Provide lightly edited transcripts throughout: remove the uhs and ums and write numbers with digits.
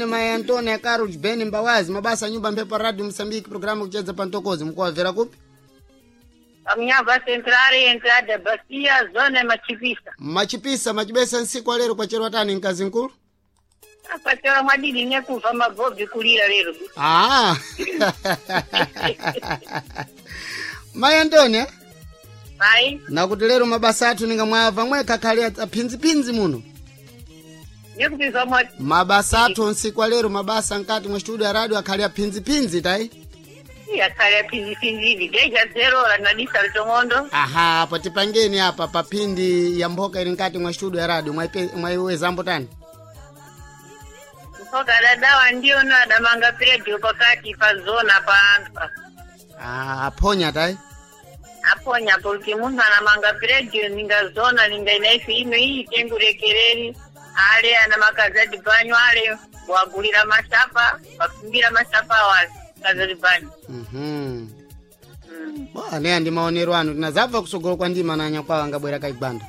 Mai Antonia Carlos Ben Mbawazi mabasa nyumba mphepo radio Msambiki programu kucheza pantokozi mkuwavera kupi? Pamnyava Centrale entrada Bacia zona ya Machipisa. Machipisa machibesa nsiku alero kwacherwa tani mkazi nkulu? Apachola mwadidi nekuva magobi kulira lero. Ah. Mai Antonia Mai, nakuti lero mabasa athu ningamwava mwekha khali aphinziphinzi muno. nekupiva mwa Mabasa athu nsiku alero mabasa nkati mwa studio ya radio akhali aphinziphinzi tai. yakhale aphinziphinzi deja zero la nadisa litong'ondo. Aha, apo tipangeni apa paphindi ya mphoka ili nkati mwa studio ya radio mwaiwezambo tani. Mpaka dadawa ndio no adamanga predio pakati pa zona pa anthu. Ah, aphonya tai. Aponya porque munthu anamanga predio ninga zona ninga inaifi ino iyi tengurekereri ale ana makazi banyo ale wagulira masapa wakumbira masapa wa kazi banyo. Mhm. Bwa neya ndi maonero anu tinazabva kusogolo kwa ndima na anyakwawa angabwera kaigwanda.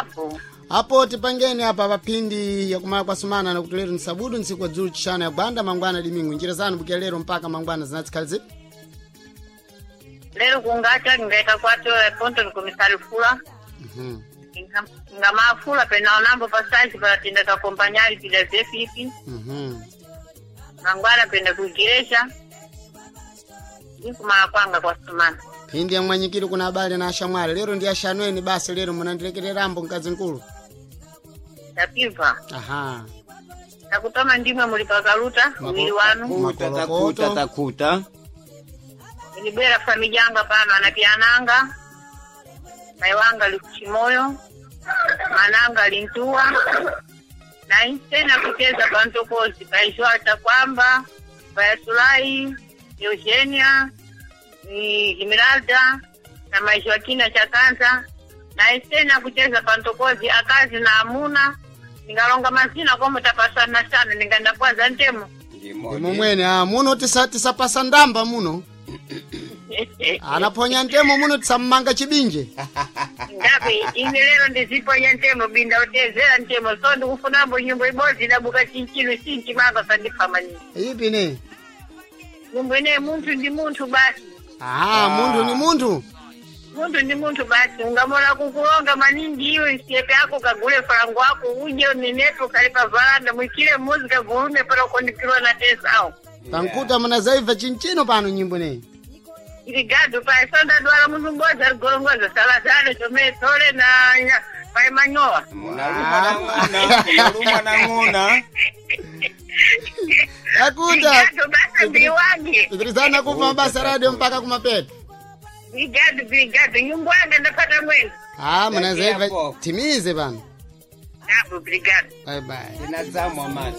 Apo. Apo tipangeni apa paphindi yakumala kwa sumana nakuti lero ni sabudu ntsiku wa dzulu chishanu ya gwanda mangwana dimingu njira zanu bukira lero mpaka mangwana zinatsikhali zipi? Lero kungacha ningaita kwatola ponto nikomisari fula. Mhm. Ngamafula pena pasaji palatinda kakompanyali pida zefifi. Mhm. Mangwana penda kuigereja. Ndikumala kwanga kwa sumana. Phindi ya mwanyikiro kuna abale na ashamwali lero ndi ashanweni basi lero munandilekererambo mkazi nkulu. Tapiva. Aha. Takutoma ndimwe muli pakaluta uwili wanu. Takuta, Makolokoto. takuta, takuta. Nilibwera famijanga pano anapiananga. Mai wanga likuchimoyo. Mananga lintua. Na insena kucheza pantokozi paishwata kwamba payasulai Eugenia ni Esmeralda na maishwakina chakanza na insena kucheza pantokozi akazi na amuna ningalonga mazina komo tapasana sana ninganda kwaza ntemo. Ndimo mwene ah muno tisapasa ndamba muno. Anaphonya ntemo muno tisammanga chibinje. Ngapi ine lero ndiziponya ntemo binda utezera ntemo so ndikufunambo nyimbo ibodzi idabuka chinchino chinchimanga sandiphamani Ipi ne? nyimbo ine munthu ndi munthu basi. Aha, munthu ni munthu. Munthu ndi munthu basi ungamola kukulonga maningi iwe nsyepe yako kagule falango wako uje unenepe ukhale pa varanda mwikile muzi kagulume pala ukondikilwa na tesawo. Tankuta munazaiva chinchino pano nyimbo neyi. Iligado pai so ndadwala munthu m'bodzi aligorongoza salazano chomene thole na pai manyowa. Munaluma na ng'ona, munaluma na ng'ona. Takuta. Ligado basi mbiwange. Tikirizana kuva mabasa radio mpaka kumapeto. Brigado, brigado, nyumba yanga ndapata mwezi. Ah, munazaiva Hapo. timize pano. Apo, brigado. Bye bye. Tinazamwa mani.